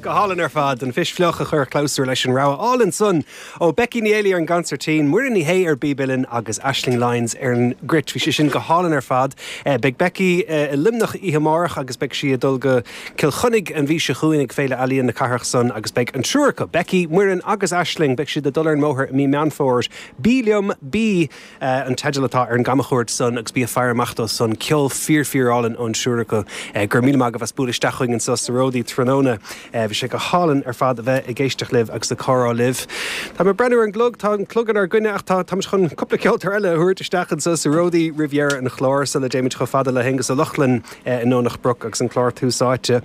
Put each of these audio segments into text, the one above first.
Go hálainn ar fad, an Phis Fliuch a chuir clabhsúr leis an rogha álainn san ó Becky Ní Éalaí ar an gconsairtín, Muireann Ní Shé ar bpíb uilleann agus Aisling Lyons ar an gcruit. Bhí sé sin go hálainn ar fad. Beidh Becky i Luimneach oíche amárach agus beidh sí ag dul go Cill Chainnigh an mhí seo chugainn ag Féile Ealaíon na cathrach san agus beidh an triúr acu, Becky, Muireann agus Aisling, beidh siad ag dul ar an mbóthar i mí Meán Fómhair. Bí liom, bí! an teideal atá ar an gcamchuairt san agus bí ag faire amach dó san. Ceol fíor fíor álainn ón triúr acu. Go raibh míle maith agaibh as bualadh isteach chugainn anso sa Ródaí tráthnóna. Bhí sé go hálainn ar fad a bheith ag éisteacht libh agus ag comhrá libh. Tá mé ag breathnú ar an gclog, tá an clog inár gcoinne ach tá táimid chun cúpla ceoltóir eile a thabhairt isteach anso sa Ródaí roimh dheireadh an chláir sula dtéimid chomh fada le hAonghus Ó Lochlainn i nDomhnach Broc agus an clár Tús Áite.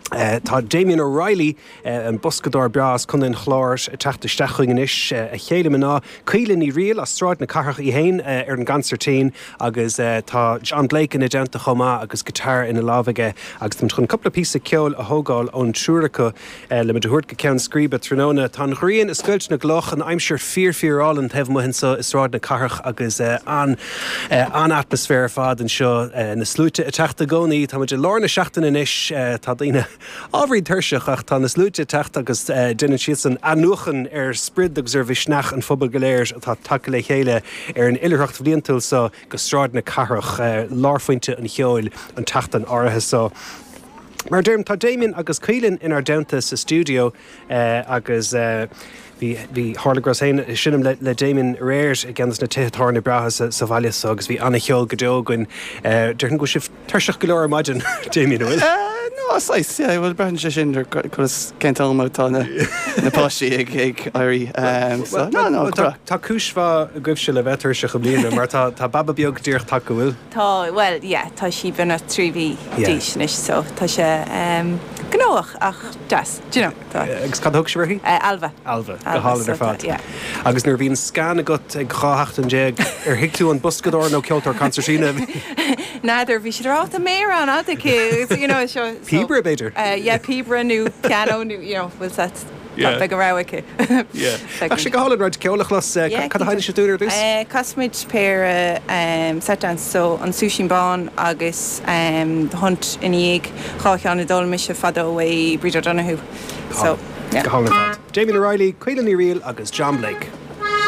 Tá Damien O'Reilly, an boscadóir breá as Contae an Chláir, ag teacht isteach chugainn anois. A chéile mná, Caoile Ní Fhrighil as Sráid na Cathrach í féin ar an gconsairtín agus tá John Blake ina dteannta chomh maith agus guitar ina lámh aige agus táimid chun cúpla píosa ceoil a thógáil ón triúr acu le muid a thabhairt go ceann scríbe tráthnóna. Tá an ghrian ag scoilt na gcloch, an aimsir fíor fíor álainn taobh amuigh anseo i Sráid na Cathrach agus an an-atmaisféar ar fad anseo. Na sluaite ag teacht i gcónaí. Tá muid i lár na seachtaine anois. Tá daoine ábhairín tuirseach ach tá na sluaite ag teacht agus déanann siadsan athnuachan ar sprid agus ar mhisneach an phobail go léir atá tagtha le chéile ar an oilithreacht bhliantúil seo go Sráid na Cathrach, lárphointe an cheoil an tseachtain áirithe seo. Mar a deirim, tá Damien agus Caoilinn inár dteannta sa stiúideo agus bhí, bhí, tharla go rabhas féin ag seinm le, le Damien aréir i gceann de na tithe tábhairne breátha sa, sa bhaile so agus bhí an-cheol go deo againn. Déarfainn go bhfuil sibh tuirseach go leor ar maidin, Damien, an bhfuil? No, saghas, yeah, bhuel braitheann sé sin ar conas, cén t-am atá na, na páistí ag, ag éirí. So, no, no, go breá. Tá cúis mhaith agaibhse le bheith tuirseach i mbliana mar tá, tá baba beag díreach tagtha, an bhfuil? Tá, bhuel, yeah, tá sí beagnach 3 mhí d'aois anois so tá sé gnóthach ach deas, do you know, tá. Agus cad a thug sibh uirthi? Ailbhe. Ailbhe, go hálainn ar fad. Yeah. Agus nuair a bhí an scan agat ag 12 sheachtain, ar thuig tú an boscadóir nó ceoltóir consairtín a bhí? N'fheadar, bhí siad ag rá, tá méar an-fhada aici, you know, seo. Píobaire, b'fhéidir? Yeah, píobaire nó pianó nó, you know, bhfuil 's a't. Yeah. Beidh a rogha aici. Yeah. Bheadh sé go hálainn roinnt ceoil a chlos. Cad a sheinneann sibh dúinn ar dtús? Casfaimid péire set dance, so an Súisín Bán agus The Hunt ina dhiaidh, dhá cheann a d'fhoghlaim mise fadó ó Bríd O'Donoghue. So, yeah. Go hálainn ar fad. Damien O'Reilly, Caoilinn Ní Fhrighil agus John Blake.